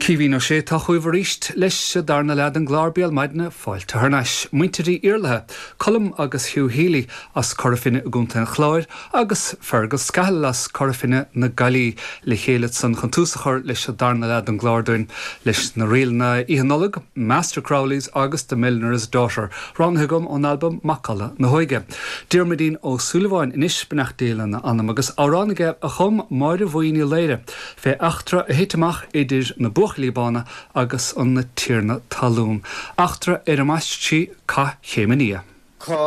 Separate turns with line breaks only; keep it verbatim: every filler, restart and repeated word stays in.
Caoimhín Ó Sé tá chugaibh arís leis an darna leath den gclár Béal Maidine fáilte thar n-ais. Muintir Uí Iarlaithe, Colm agus Hugh Healy as Cora Finne i gContae an Chláir agus Fergal Scahill as Cora Finne na Gaillimhe le chéile san chun tús a chur leis an darna leath den gclár dúinn leis na ríleanna Oíche Nollag, Master Crowley's agus The Milliner's Daughter, roghnaithe agam ón albam Macalla na hÓige. Diarmuidín Ó Súilleabháin anois beannacht Dé lena anam agus amhrán aige a chum Máire Bhuí Ní Laoire fé eachtra a thit amach idir na buachaillí bána agus an tiarna talún. Eachtra ar a mbaist sí Cath Chéim an Fhia.
Cá